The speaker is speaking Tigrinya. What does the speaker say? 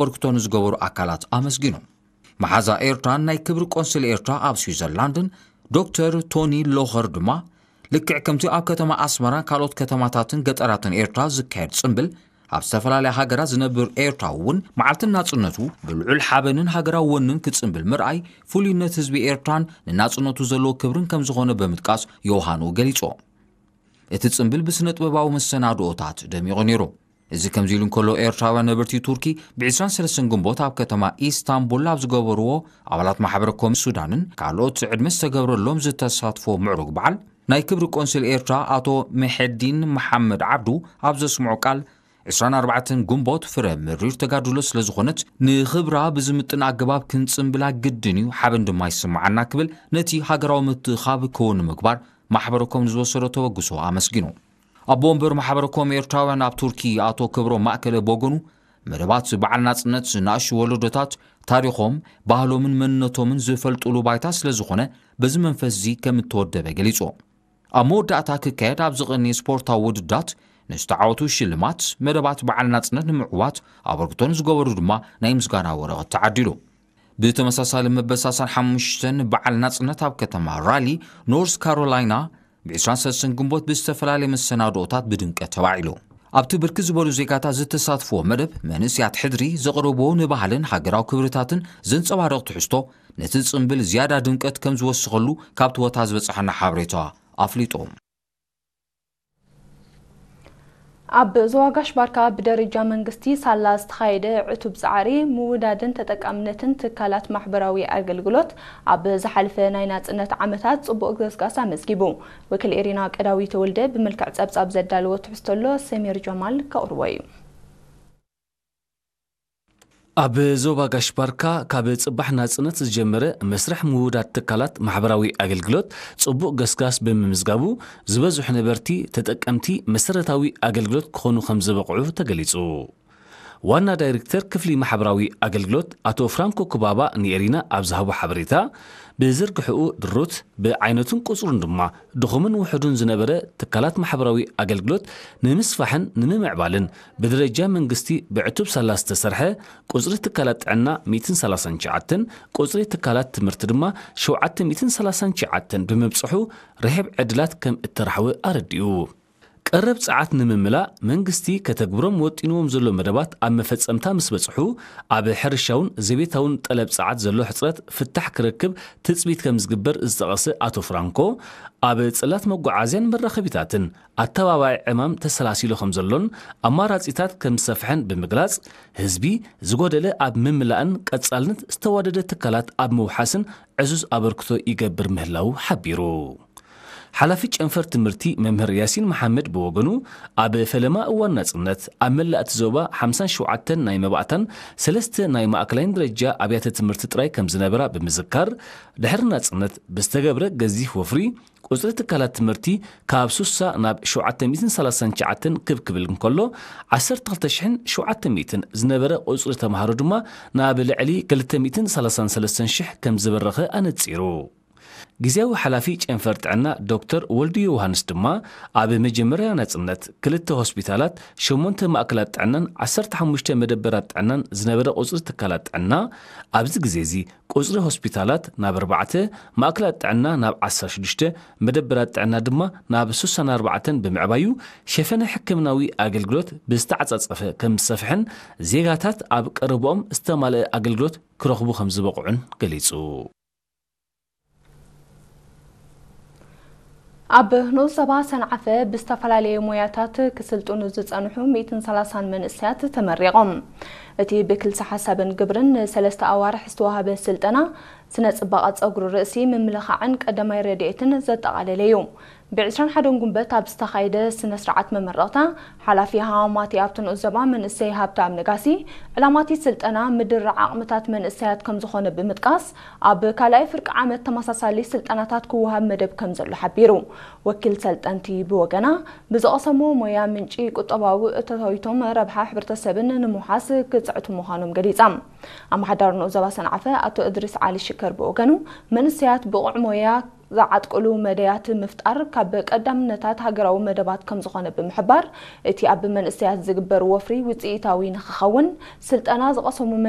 ኣበርክቶ ንዝገበሩ ኣካላት ኣመስጊኑ። መሓዛ ኤርትራን ናይ ክብሪ ቆንስል ኤርትራ ኣብ ስዊዘርላንድን ዶክተር ቶኒ ሎኸር ድማ፣ ልክዕ ከምቲ ኣብ ከተማ ኣስመራን ካልኦት ከተማታትን ገጠራትን ኤርትራ ዝካየድ ጽምብል፣ ኣብ ዝተፈላለያ ሃገራት ዝነብር ኤርትራዊ እውን መዓልቲ ናጽነቱ ብልዑል ሓበንን ሃገራዊ ወንን ክጽምብል ምርኣይ፣ ፍሉይነት ህዝቢ ኤርትራን ንናጽነቱ ዘለዎ ክብርን ከም ዝኾነ ብምጥቃስ፣ ዮውሃኑ ገሊጹ። እቲ ጽምብል ብስነ ጥበባዊ መሰናድኦታት ደሚቑ ነይሩ። እዚ ከምዚ ኢሉ እንከሎ፣ ኤርትራውያን ነበርቲ ቱርኪ ብ ዕስራን ሰለስተን ግንቦት ኣብ ከተማ ኢስታንቡል ኣብ ዝገበርዎ፣ ኣባላት ማሕበረ ኮም ሱዳንን ካልኦት ዕድመ ዝተገብረሎም ዝተሳትፎ ምዕሩግ በዓል፣ ናይ ክብሪ ቆንስል ኤርትራ ኣቶ መሐዲን መሓመድ ዓብዱ ኣብ ዘስምዖ ቃል፣ ዕስራን ኣርባዕተን ግንቦት ፍረ ምሪር ተጋድሎ ስለ ዝኾነት፣ ንኽብራ ብዝምጥን ኣገባብ ክንጽምብላ ግድን እዩ፣ ሓበን ድማ ይስምዓና ክብል ነቲ ሃገራዊ ምትእኻብ ክውን ንምግባር ማሕበረ ኮም ንዝወሰዶ ተበግሶ ኣመስጊኑ። ኣቦ ወንበር ማሕበረ ኮም ኤርትራውያን ኣብ ቱርኪ ኣቶ ክብሮም ማእከለ ብወገኑ፣ መደባት በዓል ናጽነት ንኣሽቱ ወለዶታት ታሪኾም፣ ባህሎምን መንነቶምን ዝፈልጡሉ ባይታ ስለ ዝኾነ፣ በዚ መንፈስ እዚ ከም እተወደበ ገሊጹ። ኣብ መወዳእታ ክካየድ ኣብ ዝቐነየ ስፖርታዊ ውድድራት ንዝተዓወቱ ሽልማት፣ መደባት በዓል ናጽነት ንምዕዋት ኣበርክቶ ንዝገበሩ ድማ ናይ ምስጋና ወረቐት ተዓዲሉ። ብተመሳሳሊ መበል ሰላሳን ሓሙሽተን በዓል ናጽነት ኣብ ከተማ ራሊ ኖርዝ ካሮላይና ብ ዕስራን ሰለስተን ግንቦት ብዝተፈላለየ መሰናድኦታት ብድምቀት ተባዒሉ። ኣብቲ ብርክት ዝበሉ ዜጋታት ዝተሳትፍዎ መደብ፣ መንእሰያት ሕድሪ ዘቕረብዎ ንባህልን ሃገራዊ ክብርታትን ዘንጸባርቕ ትሕዝቶ፣ ነቲ ጽምብል ዝያዳ ድምቀት ከም ዝወሰኸሉ ካብቲ ቦታ ዝበጽሓና ሓበሬታ ኣፍሊጡ። ኣብ ዞባ ጋሽ ባርካ ብደረጃ መንግስቲ ሳላ ዝተኻየደ ዕቱብ ጻዕሪ ምውዳድን ተጠቃምነትን ትካላት ማሕበራዊ ኣገልግሎት፣ ኣብ ዝሓለፈ ናይ ናጽነት ዓመታት ጽቡቕ ገስጋስ ኣመዝጊቡ። ወኪል ኤሪና ቀዳዊ ተወልደ ብመልክዕ ጸብጻብ ዘዳለዎ ትሕዝቶ ኣሎ፣ ሰሚር ጀማል ከቕርቦ እዩ። ኣብ ዞባ ጋሽ ባርካ ካብ ጽባሕ ናጽነት ዝጀመረ መስርሕ ምውዳድ ትካላት ማሕበራዊ ኣገልግሎት ጽቡቕ ገስጋስ ብምምዝጋቡ፣ ዝበዝሑ ነበርቲ ተጠቀምቲ መሰረታዊ ኣገልግሎት ክኾኑ ከም ዝበቕዑ ተገሊጹ። ዋና ዳይሬክተር ክፍሊ ማሕበራዊ ኣገልግሎት ኣቶ ፍራንኮ ኩባባ ንኤሪና ኣብ ዝሃቦ ሓበሬታ፣ ብዝርግሕኡ ድሩት፣ ብዓይነቱን ቁጽሩን ድማ ድኹምን ውሑዱን ዝነበረ ትካላት ማሕበራዊ ኣገልግሎት ንምስፋሕን ንምምዕባልን ብደረጃ መንግስቲ ብዕቱብ ሳላ ዝተሰርሐ ቁጽሪ ትካላት ጥዕና ሚእትን ሰላሳን ትሽዓተን፣ ቁጽሪ ትካላት ትምህርቲ ድማ ሸውዓተ ሚእትን ሰላሳን ትሽዓተን ብምብጽሑ ርሕብ ዕድላት ከም እተራሕወ ኣረዲኡ። ቀረብ ጸዓት ንምምላእ መንግስቲ ከተግብሮም ወጢንዎም ዘሎ መደባት ኣብ መፈጸምታ ምስ በጽሑ፣ ኣብ ሕርሻውን ዘቤታውን ጠለብ ጸዓት ዘሎ ሕጽረት ፍታሕ ክረክብ ትጽቢት ከም ዝግበር ዝጠቐሰ ኣቶ ፍራንኮ፣ ኣብ ጽላት መጓዓዝያን መራኸቢታትን ኣተባባዒ ዕማም ተሰላሲሉ ከም ዘሎን ኣማራጺታት ከም ዝሰፍሐን ብምግላጽ፣ ህዝቢ ዝጎደለ ኣብ ምምላእን ቀጻልነት ዝተዋደደ ትካላት ኣብ ምውሓስን ዕዙዝ ኣበርክቶ ይገብር ምህላዉ ሓቢሩ። ሓላፊ ጨንፈር ትምህርቲ መምህር ያሲን መሓመድ ብወገኑ፣ ኣብ ፈለማ እዋን ናጽነት ኣብ መላእ እቲ ዞባ ሓምሳን ሸውዓተን ናይ መባእታን ሰለስተ ናይ ማእከላይን ደረጃ ኣብያተ ትምህርቲ ጥራይ ከም ዝነበራ ብምዝካር፣ ድሕሪ ናጽነት ብዝተገብረ ገዚፍ ወፍሪ፣ ቁጽሪ ትካላት ትምህርቲ ካብ ሱሳ ናብ ሸውዓተ ሚእትን ሰላሳን ትሽዓተን ክብ ክብል እንከሎ፣ ዓሰርተ ክልተ ሽሕን ሸውዓተ ሚእትን ዝነበረ ቁጽሪ ተምሃሮ ድማ ናብ ልዕሊ ክልተ ሚእትን ሰላሳን ሰለስተን ሽሕ ከም ዝበረኸ ኣነጺሩ። ግዝያዊ ሓላፊ ጨንፈር ጥዕና ዶክተር ወልዱ ዮውሃንስ ድማ፣ ኣብ መጀመርያ ናጽነት ክልተ ሆስፒታላት፣ ሸሞንተ ማእከላት ጥዕናን ዓሰርተ ሓሙሽተ መደበራት ጥዕናን ዝነበረ ቁጽሪ ትካላት ጥዕና፣ ኣብዚ ግዜ እዚ ቁጽሪ ሆስፒታላት ናብ ኣርባዕተ፣ ማእከላት ጥዕና ናብ ዓሰርተ ሽዱሽተ፣ መደበራት ጥዕና ድማ ናብ ስሳን ኣርባዕተን ብምዕባዩ፣ ሸፈነ ሕክምናዊ ኣገልግሎት ብዝተዓጻጸፈ ከም ዝሰፍሐን ዜጋታት ኣብ ቀረብኦም ዝተማልአ ኣገልግሎት ክረኽቡ ከም ዝበቕዑን ገሊጹ። ኣብ ንኡስ ዞባ ሰንዓፈ ብዝተፈላለየ ሞያታት ክስልጥኑ ዝጸንሑ ሚእትን ሰላሳን መንእሰያት ተመሪቖም። እቲ ብክልሲ ሓሳብን ግብርን ንሰለስተ ኣዋርሕ ዝተዋህበ ስልጠና፣ ስነ ጽባቐ ጸጉሪ ርእሲ፣ ምምልኻዕን ቀዳማይ ረድኤትን ዘጠቓለለ እዩ። ብ ዕስራን ሓደን ጉንበት ኣብ ዝተኻየደ ስነ ስርዓት መመረቕታ፣ ሓላፊ ሃዋማቲ ኣብቲ ንኡስ ዞባ መንእሰይ ሃብተኣብ ነጋሲ፣ ዕላማ እቲ ስልጠና ምድርራዕ ዓቕምታት መንእሰያት ከም ዝኾነ ብምጥቃስ፣ ኣብ ካልኣይ ፍርቂ ዓመት ተመሳሳሊ ስልጠናታት ክወሃብ መደብ ከም ዘሎ ሓቢሩ። ወኪል ሰልጠንቲ ብወገና፣ ብዝቐሰምዎ ሞያ ምንጪ ቁጠባዊ እቶታዊቶም ረብሓ ሕብረተሰብን ንምውሓስ ክጽዕቱ ምዃኖም ገሊጻ። ኣመሓዳሪ ንኡስ ዞባ ሰንዓፈ ኣቶ እድሪስ ዓሊ ሽከር ብወገኑ፣ መንእሰያት ብቑዕ ሞያ ዝዓጥቅሉ መደያት ምፍጣር ካብ ቀዳምነታት ሃገራዊ መደባት ከምዝኾነ ብምሕባር፣ እቲ ኣብ መንእሰያት ዝግበር ወፍሪ ውፅኢታዊ ንክኸውን ስልጠና ዝቐሰሙ